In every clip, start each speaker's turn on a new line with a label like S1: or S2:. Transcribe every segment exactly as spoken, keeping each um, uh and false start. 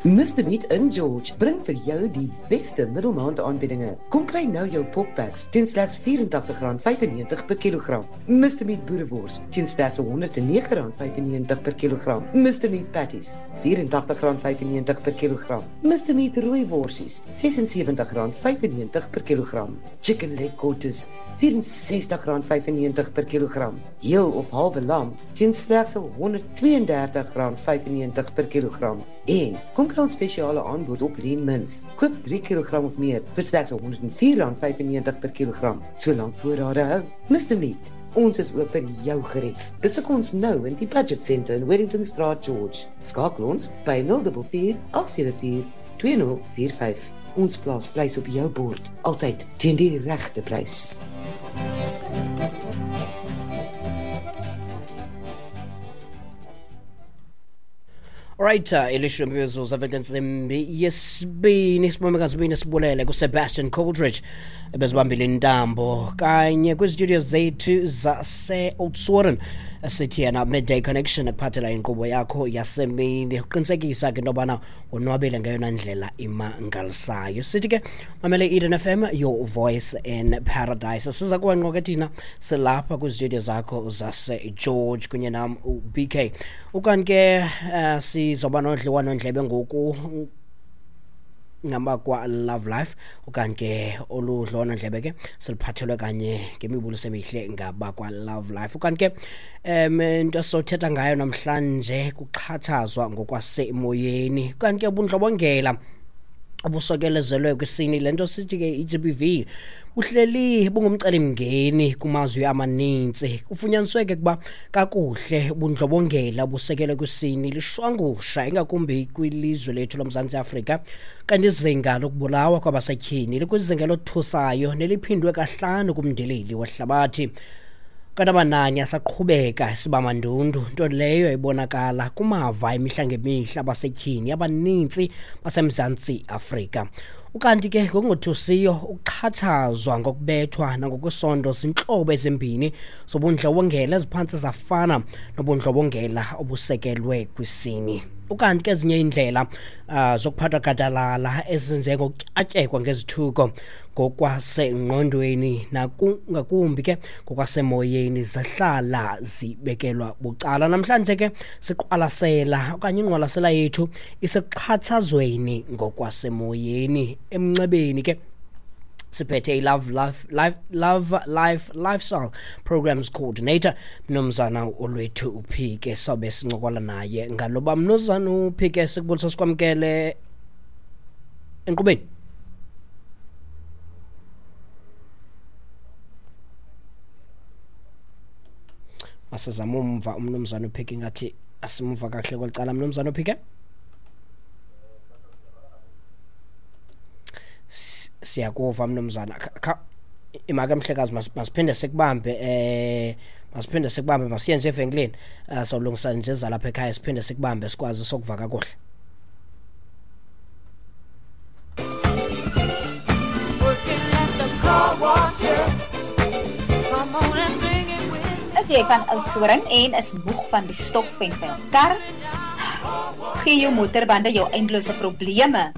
S1: Mister Meat in George bring vir jou die beste middelmaand aanbiedinge. Kom kry nou jou poppacks teen slegs vyf-en-tagtig rand vyf-en-negentig per kilogram. Mister Meat boerewors teen slegs honderd en nege rand vyf-en-negentig per kilogram. Mister Meat patties vyf-en-tagtig rand vyf-en-negentig per kilogram. Mister Meat rooi worsies ses-en-sewentig rand vyf-en-negentig per kilogram. Chicken leg quarters vyf-en-sestig rand vyf-en-negentig per kilogram. Heel of halwe lam teen slegs honderd twee-en-dertig rand vyf-en-negentig per kilogram. En kom kry ons spesiale aanbod op Lean Mince. Koop drie kilogram of meer vir slegs honderd en vier rand vyf-en-negentig per kilogram, solank voorrade hou. Mister Meat, ons is oop vir jou gerief. Besoek ons nou in die Budget Centre in Wellington Straat, George. Skakel ons by nul dubbel vier, agt sewe vier, twee nul vier vyf. Ons plaas vleis op jou bord, altyd teen die regte prys.
S2: Alright, uh, elishumi mizuzu avensimbi yesibini sibomekazibini sibulele kuSebastian Coldridge ebezibambile intambo kanye kwistudio zethu zase-Oudtshoorn sithi yena Midday Connection ekuphathela inkqubo yakho yasemini uqinisekisa ke into yobana wonwabile ngeyona ndlela imangalisayo. Sithi ke mamele Eden F M, your voice in paradise. Siza kuwe ngqo ke thina silapha kwistudio zakho zase-George kunye nam u-B K. Ukanti ke uh, sizoba nodliwano-ndlebe ngoku ngabakwa Love Life, okanye ke oludliwano-ndlebe ke siluphathelwe kanye ngemibuliso emihle ngabakwa Love Life. Okanye ke um into esizothetha ngayo namhlanje kuxhatshazwa ngokwasemoyeni, okanye ke ubundlobongela obusokelezelwe kwisini, le nto sithi ke I G B V buhleli bungumcelimngeni kumazwe amaninzi. Kufunyaniswe ke ukuba kakuhle ubundlobongela obusekelwe kwisini lishwangusha ingakumbi kwilizwe lethu loMzantsi Afrika, kanti izinga lokubulawa kwabasetyhini likwizinga elothusayo neliphindwe kahlanu kumndilili wehlabathi. Kanti amanani asaqhubeka sibamandundu, nto leyo ibonakala kumava imihla ngemihla abasetyhini abanintsi baseMzantsi Afrika. Ukanti ke ngokungothusiyo ukuxhatshazwa ngokubethwa nangokwesondo zintlobo ezimbini zobundlobongela eziphantse zafana nobundlobongela obusekelwe kwisini. Ukanti ke ezinye iindlela uh, zokuphathwa gadalala ezinjengokutyatyekwa ngezithuko ngokwasengqondweni nakungakumbi ke ngokwasemoyeni zahlala zibekelwa bucala. Namhlanje ke siqwalasela okanye ingqwalasela yethu isekuxhatshazweni ngokwasemoyeni. Emnxebeni ke siphethe i-Love Life, Life, Love Life Lifestyle Programs Coordinator Mnumzana Olwethu Uphike, sobe sincokola naye ngaloba. Mnumzana Uphike, sikubulisa sikwamkele enkqubeni. Masizame umva umnumzana Uphike, ngathi asimva kakuhle kweli cala. Mnumzana Uphike, siyakuva mnumzana. Imake mhlekazi, masiphinde sikubambe eh masiphinde sikubambe masiye nje evenkileni, uh, sawulungisa nje zalapha ekhaya, siphinde sikubambe sikwazi sokuva kakuhle.
S3: Is jy van Oudtshoorn en is moeg van die stof en vuil kar? Gee jou motorbande jou eindelose probleme.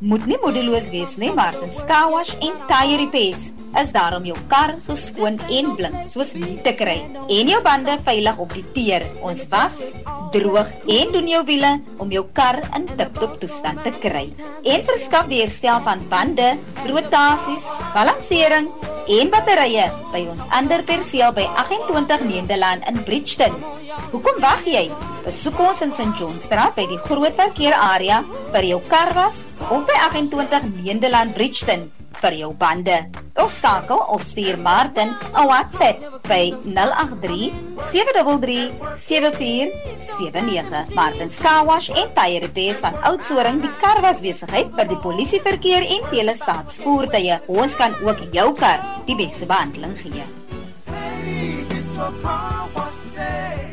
S3: Moet nie moedeloos wees nie, Martin's Car Wash en Tire Repairs is daar om jou kar so skoon en blink soos nie te kry en jou bande veilig op die teer. Ons was, droog en doen jou wiele om jou kar in tip-top toestand te kry. En verskaf die herstel van bande, rotasies, balansering en batterye by ons ander perseel by agt-en-twintig Nederland in Bridgeton. Hoekom wag jy? Besoek ons in Saint John Straat by die groot parkeerarea vir jou karwas of by agt-en-twintig Nederland Bridgeton vir jou bande. Of skakel of stuur Martin 'n WhatsApp by nul agt drie, sewe drie drie, sewe vier sewe nege. Martin's Car Wash en Tire Repairs van Oudtshoorn, die karwasbesigheid vir die polisieverkeer en vele staatsvoertuie. Ons kan ook jou kar die beste behandeling gee.
S4: Hey, get your car washed today.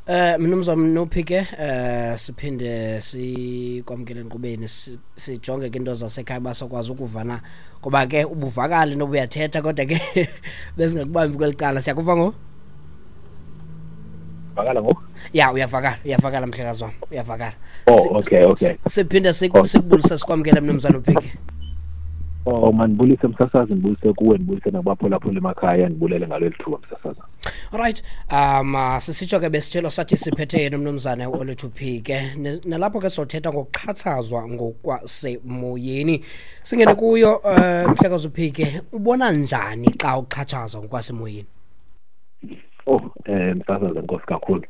S2: Eh mnumzana Nophike, eh siphinde sikwamkele enkqubeni, sijonge ke into zasekhaya basokwazi ukuvana, ngoba ke ubuvakali noba uyathetha kodwa ke besingakubambi kweli cala. Siyakuva ngo?
S5: Vakala ngoku?
S2: Ya, uyavakala, uyavakala mhlekazi wam, uyavakala.
S5: Oh, okay, okay.
S2: Siphinde sikubulise sikwamkele mnumzana uPhike.
S5: Oh, mandibulise msasazi, ndibulise kuwe, ndibulise nakubaphulaphula emakhaya, ndibulele ngaleli thuba msasazi.
S2: Alright, um sisitsho ke besitshelo sathi siphethe yena umnumzana uOlwethu Phike, nalapho ke sothetha ngokuxhatshazwa ngokwasemoyeni. Singene kuyo uh, mhlekazi uPhike, ubona njani xa uxhatshazwa ngokwasemoyeni?
S5: Oh, eh msasazi, enkosi kakhulu.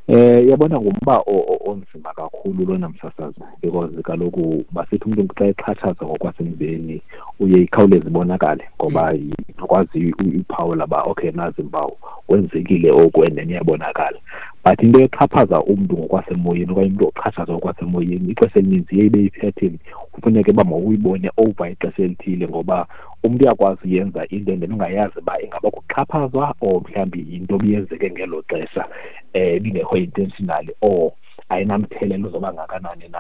S5: Eh yabona ngumba onzima kakhulu lona msasazi, because kaloku basithi umuntu xa exhatshazwa ngokwasemzini uye ikhawuleze ibonakale ngoba ikwazi iphawula ba okay nazi impawu kwenzekile oku and then iyabonakala. But into exhaphaza umntu ngokwasemoyeni okanye umntu oxhatshazwa ngokwasemoyeni ixesha elininzi iye ibe yi-pattern, kufuneke uba mawuyibone over ixesha elithile ngoba umntu uyakwazi uyenza into and then ungayazi uba ingaba kuxhaphazwa or mhlawumbi yinto obiyenzeke ngelo xesha eh ibingekho intentionally or ayinamthelelo uzoba ngakanani na.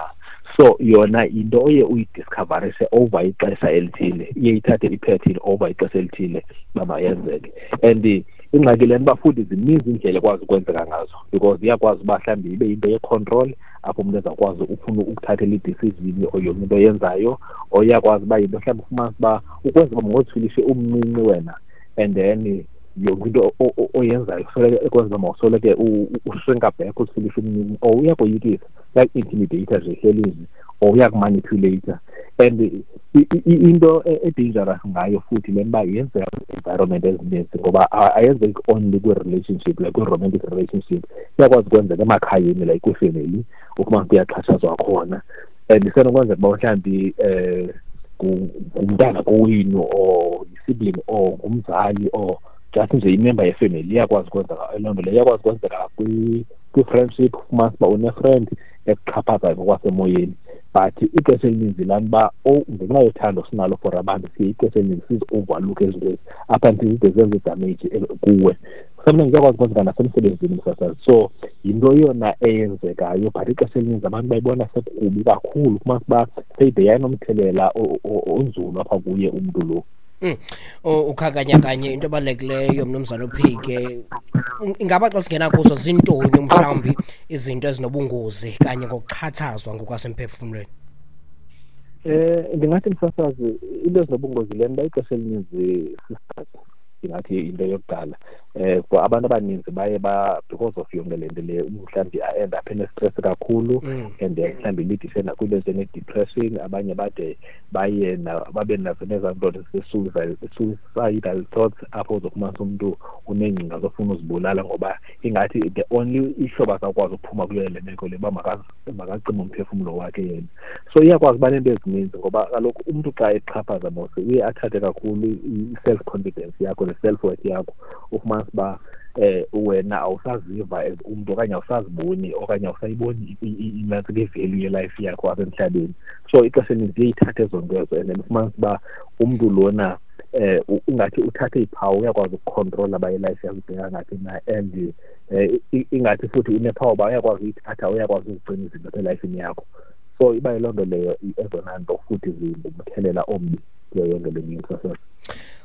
S5: So yona into oye uyidiscoverise over ixesha elithile, iye ithathe i-pattern over ixesha elithile uba mayenzeke. And ingxaki lena uba futhi zininzi iindlela ekwazi ukwenzeka ngazo because iyakwazi uba mhlawumbi ibe yinto ye-control apho umntu ezawukwazi ufuna ukuthathela i-decision or yonke into oyenzayo, or iyakwazi uba yinto mhlawumbi ufumanise uba ukwenza uba mawuzifilishe umncinci wena and then yonke into oyenzayo soleke ekwenza uba mawusoleke ushrinka back uzifilishe umncinci, or uyakoyikisa, uyaku-intimidate nje ehlelini or uyakumanipulate. And into e-dangerous ngayo futhi le nto uba yenzeka kwi-environment ezininzi ngoba ayenzeki only kwi-relationship, like kwi-romantic relationship, iyakwazi ukwenzeka emakhayeni like kwifemeli ufumanise kuyaxhatshazwa khona. And isenokwenzeka uba mhlawumbi um ngumntana kowenu or yi-sibling or ngumzali or just nje imember yefemeli, iyakwazi ukwenzeka loo nto leyo. Iyakwazi ukwenzeka kwi-friendship, ufumanise uba une-friend ekuxhaphazayo ngokwasemoyeni. But ixesha elininzi laa nto uba ngenxa yothando sinalo for abantu siye ixesha elininzi sizi-overlook ezinto ezi up until zide zenze idamage kuwe. Sometimes iyakwazi ukwenzeka nasemsebenzini msasazi. So yinto yona eyenzekayo, but ixesha elininzi abantu bayibona sekukubi kakhulu, ufumanise uba seyide yayinomthelela onzulu apha kuye umntu lo.
S2: Mm. Ukhakanya kanye into ebalulekileyo mnumzana uPhike, ingaba xa singena kuzo zintoni mhlawumbi izinto ezinobungozi kanye ngokuxhatshazwa ngokwasemphefumlweni?
S5: Eh ndingathi msasazi into ezinobungozi le nto ixesha elininzi sisazi, ndingathi into yokuqala eh for abantu abaninzi baye ba because of yonke le nto le mhlawumbi a-end up ene-stress kakhulu and then mhlawumbi ilidishe nakwinto ezinjenge-depression, abanye bade baye babe nazo nezaa nto suicidal thoughts apho uzofumanisa umntu uneengcinga zofuna uzibulala ngoba ingathi the only ihlobo azawukwazi ukuphuma kuyo le meko le uba makacime umphefumlo wakhe yena. So iyakwazi uba neento ezininzi ngoba kaloku umntu xa exhaphaza mos uye athathe kakhulu i-self confidence yakho ne-self worth yakho, ufumanise uba eh wena awusaziva as umntu okanye awusaziboni okanye awusayiboni inantsika i-value ye-life yakho apha emhlabeni. So ixesha elininzi iye ithathe ezo nto ezo and then ufumanise uba umntu lona eh ungathi uthathe iphawu uyakwazi ukukhontrola uba i-life yakho ibheka ngaphi na, and eh ingathi futhi unephawu uba uyakwazi uyithatha, uyakwazi uzigcina izinto apha elifini yakho. So iba yiloo nto leyo ezona nto futhi zingumthelela ombi kuyo yonke le nto.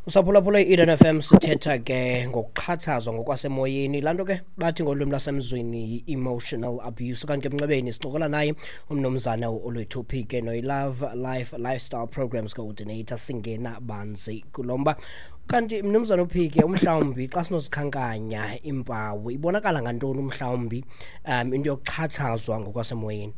S2: Usaphulaphula i-Eden F M, sithetha ke ngokuxhatshazwa ngokwasemoyeni, laa nto ke bathi ngolwimi lwasemzweni yi-emotional abuse. Kanti ke emnxebeni sincokola naye umnumzana uOlwethu Phike noyi-Love Life Lifestyle Programs Coordinator, singena banzi kulo mba. Kanti mnumzana uPhike, umhlawumbi xa sinozikhankanya impawu ibonakala ngantoni umhlawumbi um into yokuxhatshazwa ngokwasemoyeni?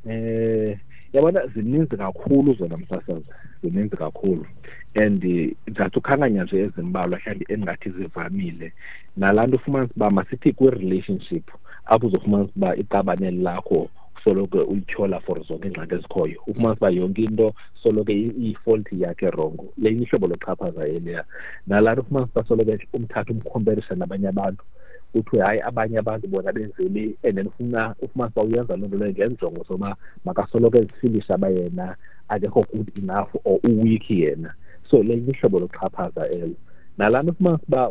S5: Eh yabona zininzi kakhulu zona msasazi, zininzi kakhulu and ndingathi ukhankanya nje ezimbalwa mhlawumbi endingathi zivamile. Nalaa nto ufumanisa uba masithi kwi-relationship apho uzofumanisa uba iqabane lakho soloko uyityhola for zonke iingxaki ezikhoyo, ufumanisa uba yonke into soloko iyifault yakhe rongo, lenye ihlobo loxhaphaza eliya. Nalaa nto ufumanisa uba soloko umthatha umkhomperisha nabanye abantu, kuthiwe hayi abanye abantu bona benzele, and then ufuna ufumanisa uba uyenza loo nto leyo ngenjongo zoba makasoloko ezifilisha uba yena akekho good enough or uweak yena. So lenye ihlobo loxhaphaza elo. Nalaa nto ufumanisa uba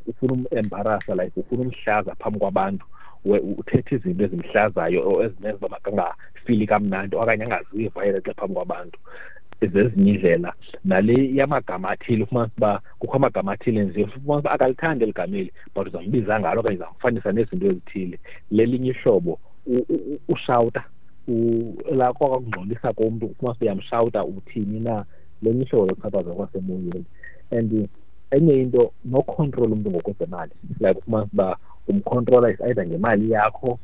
S5: ufuna umembarasa, like ufuna umhlaza phambi kwabantu, uthetha izinto ezimhlazayo or ezimenza uba makangafili kamnandi okanye angaziva yena xa phambi kwabantu. Zezinye indlela nale yamagama athile, ufumanisa uba kukho amagama athile nje, ufumanisa uba akalithandi eli gama eli, but uzambiza ngalo okanye uzamfanisa nezinto ezithile. Lelinye ihlobo ushawuta, la kwakungxolisa komntu, ufumanisa uyamshawuta uthini na. Lelinye ihlobo lokuxhaphaza kwasemoyeni. And enye into, nokhontrola umntu ngokwezemali, like ufumanisa uba umkhontrola is either ngemali yakho,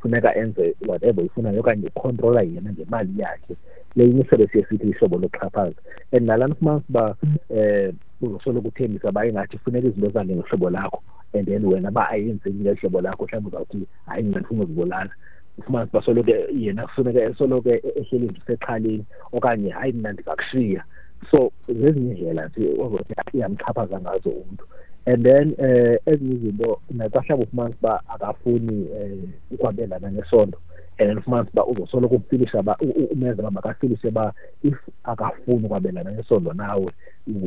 S5: funeka enze whatever uyifunayo, okanye ukhontrola yena ngemali yakhe. Lelinye ihlobo siye sithi ihlobo lokuxhaphaza. And nalana ufumanisa uba um uzosoloko uthembisa uba ingathi funeka izinto zihambe ngehlobo lakho, and then wena uba ayenzeki ngehlobo lakho, mhlawumbi uzawuthi hayi mna ndifuna uzibulala. Ufumanisa uba soloko yena kufuneka esoloko ehleli nje usexhaleni, okanye hayi mna ndizakushiya. So zezinye iindlela nje ozothi iyamxhaphaza ngazo umntu. And then eh ezinye izinto, naxa mhlawumbi ufumanisa uba akafuni um ukwabelana ngesondo, and then ufumanisa uba uzosoloko umfilisha uba umenza uba makafilishe uba if akafuni ukwabelana ngesondo nawe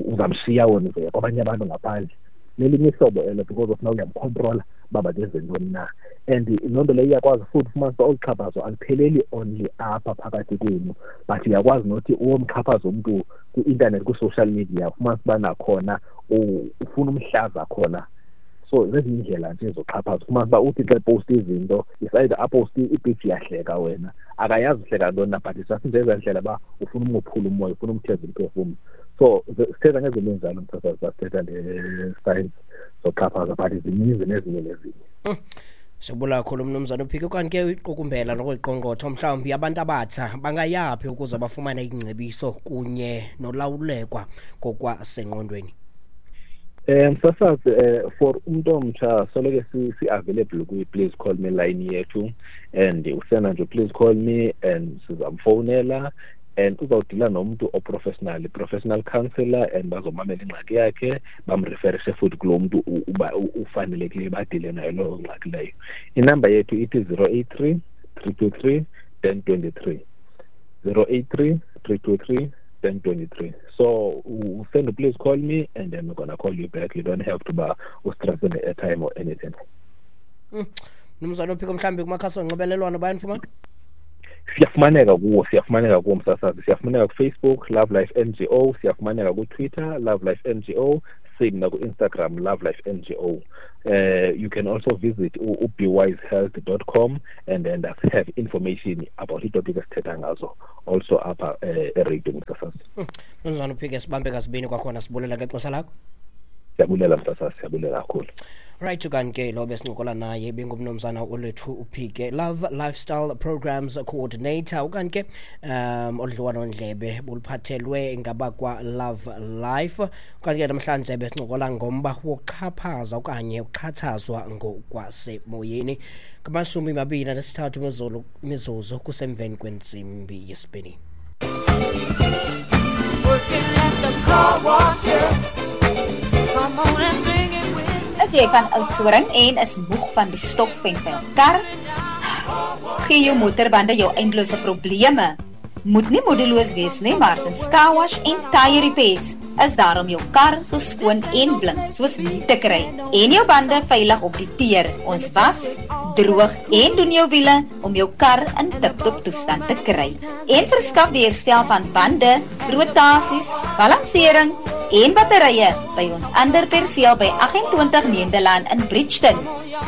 S5: uzamshiya wena uzoya kwabanye abantu ngaphandle. Lelinye ihlobo elo, because of now uyamkhontrola uba makenze ntoni na. And loo nto leyo iyakwazi futhi ufumanisa uba olu xhaphazo alupheleli only apha phakathi kwenu, but uyakwazi nothi uyomxhaphaza umntu kwi-intanethi, kwi-social media, ufumanisa uba nakhona ufuna umhlaza khona. So zezinye iindlela nje zoxhaphaza. Ufumanisa uba uthi xa eposta izinto, is either aposte ipicture iyahleka wena, akayazi uhleka ntoni na, but just nje ezaa ndlela uba ufuna umophula umoya, ufuna umtheza umphefumlo. So sithetha ngezinto ezinjalo, msasazi, sithetha nge-science zoxhaphaza, but zininzi nezinye nezinye.
S2: Sibula kakhulu mnumzana uPhike. Kanti ke uyiqukumbela nokuyiqongqotha, mhlawumbi abantu abatsha bangayaphi ukuze bafumane ingcebiso kunye nolawulekwa ngokwasengqondweni?
S5: Um msasazi, um for umntu omtsha soloko si-available kwi-please call me line yethu, and usena nje please call me and sizamfowunela, and uzawudila nomntu oprofessional, professional counselor, and bazomamela ingxaki yakhe, bamreferishe futhi kulo mntu uba ufanelekileyo badile nayo loo ngxaki leyo. Inamba yethu ithi zero eight three, three two three, ten twenty-three. zero eight three, three two three, ten twenty-three. So send please call me, and then we're gonna call you back. You don't have to buy stress on the airtime or anything.
S2: Mnumzana uPhiko, mhlawumbi kumakhasi onxibelelwano bayanifumana?
S5: Siyafumaneka kuwo, siyafumaneka kuwo msasazi. Siyafumaneka kuFacebook, Love Life N G O, siyafumaneka kuTwitter, Love Life N G O, same naku-Instagram, Love Life N G O. Uh, you can also visit be wise health dot com and then have information about itopic esithetha ngazo also apha eradio msasazi.
S2: Mnumzana uPhike, sibambe kasibini kwakhona, sibulela ngexesha lakho.
S5: Siyabulela msasazi, siyabulela kakhulu.
S2: Right, kanti ke lo besincokola naye bengumnumzana Olwethu Uphike, Love Lifestyle Programs Coordinator. Ukanti ke um odliwano-ndlebe buluphathelwe ngabakwa Love Life. Ukanti ke namhlanje besincokola ngomba wokuxhaphaza okanye ukuxhatshazwa ngokwasemoyeni. Ngamashumi mabini anesithathu imizuzu imizuzu kusemveni kwentsimbi yesibini.
S4: Working at the car wash, yeah. Come on and sing it with.
S3: Is jy van Oudtshoorn en is moeg van die stof en vuil kar? Gee jou motorbande jou eindelose probleme. Moet nie moedeloos wees nie, Martin's Car Wash en Tire Repairs is daar om jou kar so skoon en blink soos nie te kry en jou bande veilig op die teer. Ons was, droog en doen jou wiele om jou kar in tip-top toestand te kry. En verskaf die herstel van bande, rotasies, balansering en batterye by ons ander perseel by agt-en-twintig Nederland in Bridgeton.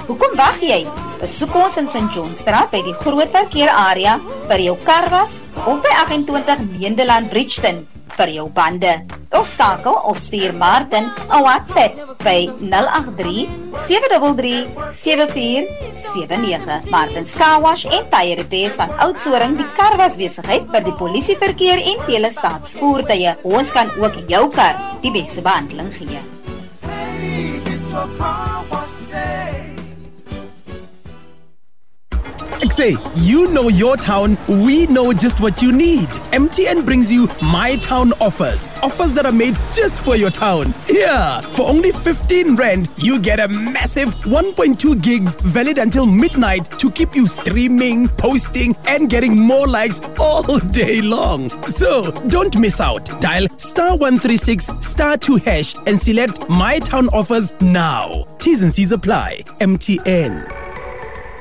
S3: Hoekom wag jy? Besoek ons in Saint Johnstraat by die groot parkeerarea vir jou karwas of by agt-en-twintig Nederland Bridgeton vir jou bande. Of skakel of stuur Martin 'n WhatsApp by nul agt drie, sewe drie drie, sewe vier sewe nege. Martin's Car Wash en Tire Repairs van Oudtshoorn, die karwasbesigheid vir die polisieverkeer en vele staatsvoertuie. Ons kan ook jou kar die beste behandeling gee.
S4: Hey, get your car washed today.
S6: Ek sê, you know your town, we know just what you need. M T N brings you My Town Offers. Offers that are made just for your town. Here, for only fifteen rand, you get a massive one point two gigs valid until midnight to keep you streaming, posting, and getting more likes all day long. So, don't miss out. Dial star one three six star two hash and select My Town Offers now. T's and C's apply. M T N.